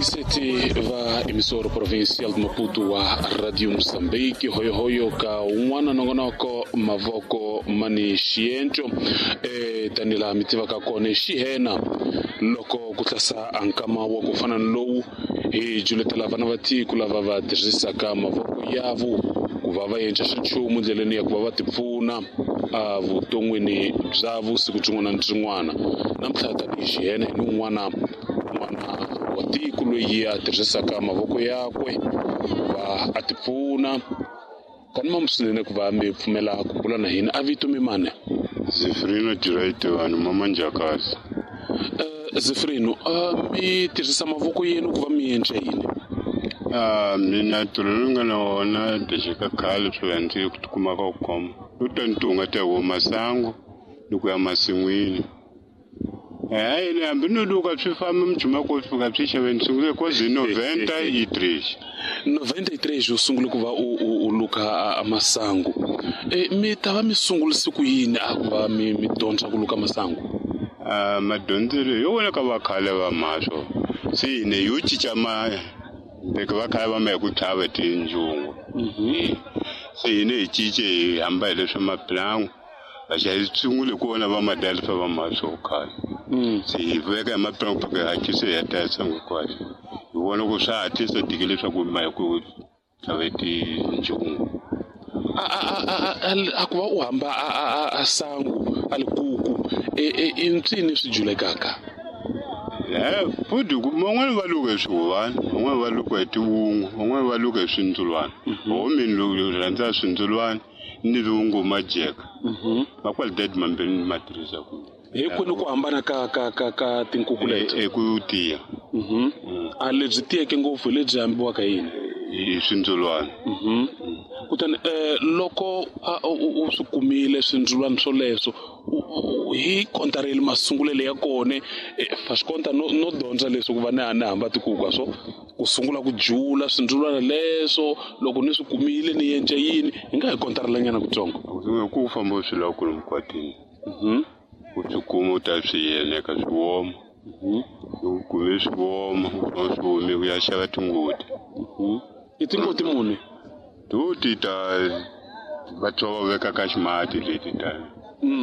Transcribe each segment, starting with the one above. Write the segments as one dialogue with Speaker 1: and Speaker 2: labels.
Speaker 1: Vayingiseti va emissora provincial de Maputo wa Radio Mozambique, hoyohoyo ka un'wana nongonoko mavoko mani xienco tanihi laha mi tivaka kona xihena loko ku tlasa a nkama wa ku fana ni lowu hi juletela vana va tiko lava va tirhisaka mavoko yavo ku va va endla xanchumu ndleleni ya ku va va tipfuna evuton'wini bya vusiku byin'wana na byin'wana. Namuntlha tanihi xihena hi ni un'wana n'wana wa tiko loyi a tirhisaka mavoko yakwe ku va a tipfuna. Kani swinene ku va mi pfumela ku bula na hina. A vito mi mani?
Speaker 2: Zefrino Direito vanhu mama Njakazi.
Speaker 1: Zefrino, mi tirhisa mavoko yenu ku va mi endla yini?
Speaker 2: Mina ntirho lowu nga na wona dexeka khale swi ndzi kumaka ku khoma u ta ni tunga ta wo masangu ni ku ya masin'wini. Hayi ni hambi no luka swi famba mujuma ko fika swi xaveni sungule ko zi 93.
Speaker 1: 93 u sungule ku va u luka a masangu. Mi ta va mi sungulise ku yini a ku va mi dyondza ku luka masangu?
Speaker 2: Madyondzelo yo vona ka vakhale va maswo se ne yo cinca ma loko va khale va ma hi ku tlhava tinjungu. Se hina hi cince hi hamba hi leswa mapulangu. Vaxavi sungule ku vona va madala swa va maswo khale. Se hi veka hi mapulangu ku hatlisa hi heta sangu hinkwayo. Hi vona ku swa hatlisa tike leswaku ma hi ku tlhava tinjungu.
Speaker 1: A ku va u hamba a sangu a likuku i mpsini swi julekaka?
Speaker 2: Futhi van'wani va luka hi swihuhwana, van'wani va luka hi tivungu, van'wani va luka hi swindzulwana. Ho mina loko rhandza swindzulwana ni vungu majeka. Ma qualidade mambirhi ni ma tirhisa ku.
Speaker 1: Hi kwini ku hambana ka tinkuku leti?
Speaker 2: Eku tiya.
Speaker 1: A lebyi tiyeke ngopfu hi lebyi hambiwaka yini?
Speaker 2: Hi swindzulwana.
Speaker 1: Kutani loko u swi kumile swindzulwana swoleswo, hi kontareli masungulelo ya kona, fa swi konta no dyondza leswi ku va ni hamba tikuku swo ku sungula ku jula swindzulwana leswo loko ni swi kumile ni endla yini, hi nga hi kontarelanyana kutsongo.
Speaker 2: Ku famba swi lava ku mikwatini. U swi kuma u ta swi yeneka swi woma. U kume swi woma, u swi omi u ya xava tingoti.
Speaker 1: I tingoti muni?
Speaker 2: Toti ta va tsova veka ka ximati leti ta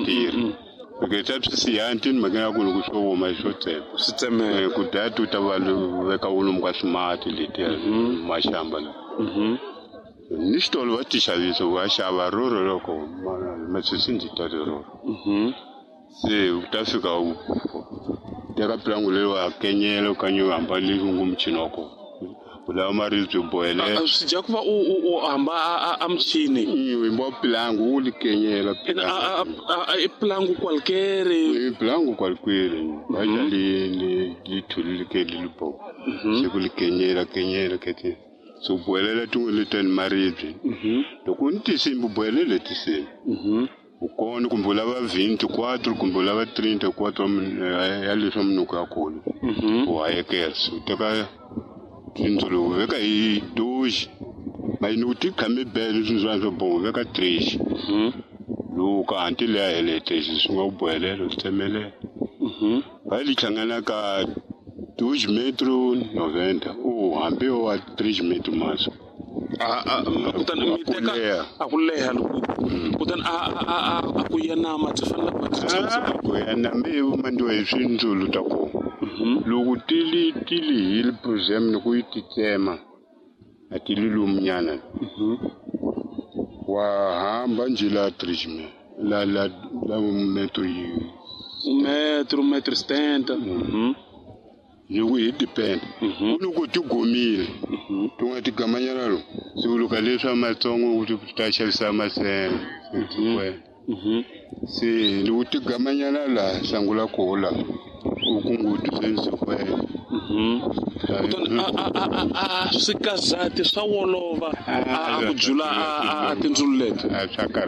Speaker 2: tirhi. Loko ta swi siya tini mhaka ya ku loko swo woma swo tsema.
Speaker 1: Swi tsemeka.
Speaker 2: Ku daya tu ta va veka wolomu ka swimati letiya maxamba la. Ni xitolo va ti xavisa u ya xava roro loko masisi ndzi ta roro. Se u ta fika u teka pulangu leri wa kenyela u kanye u hamba le ngu muchini wa kona. U lava maribye u bohelela.
Speaker 1: Swi dya ku va u hamba a muchini.
Speaker 2: U hamba pulangu u li kenyela.
Speaker 1: I pulangu kwalkere.
Speaker 2: I pulangu kwalkere. Va xa li thuli li ke li bo. Se ku li kenyela kenyela kete. So bohelela tin'we leti ni maribye. Loko u ni tinsimbi u bohelele tinsimbi. U kona kumbe u lava 24 kumbe u lava 34 ya leswa minuko ya kona. U hayekela. U teka tindzulu u veka hi doji. Mayini u ti khame bele swindzulwana swo boha u veka 3. Loko hanti leya hele 3 swi nga u bohelela u tsemelela. Va li hlangana ka 2 metro 90 u hambi wa 3 metro maso.
Speaker 1: Kutani mi teka a ku leha loko kutani a ku ya nama byi fanele ku va
Speaker 2: ku ya nama i mandiwa hi swindzulu ta kona. Loko tili hi problem loko yi ti tsema a ti li lomunyana. Wa hamba njhe la 3 la la la metro yi
Speaker 1: metro metro 70.
Speaker 2: Loko hi depend. Loko ti gomile tin'wana ti gamanyana lo se u luka leswa matsongo u ta xavisa masenge. Se loko ti gamanyana la sangula ko la u kunguti se
Speaker 1: Kutani a swi kazati swa wolova a ku jula a tindzulu leti.
Speaker 2: Swa karhata.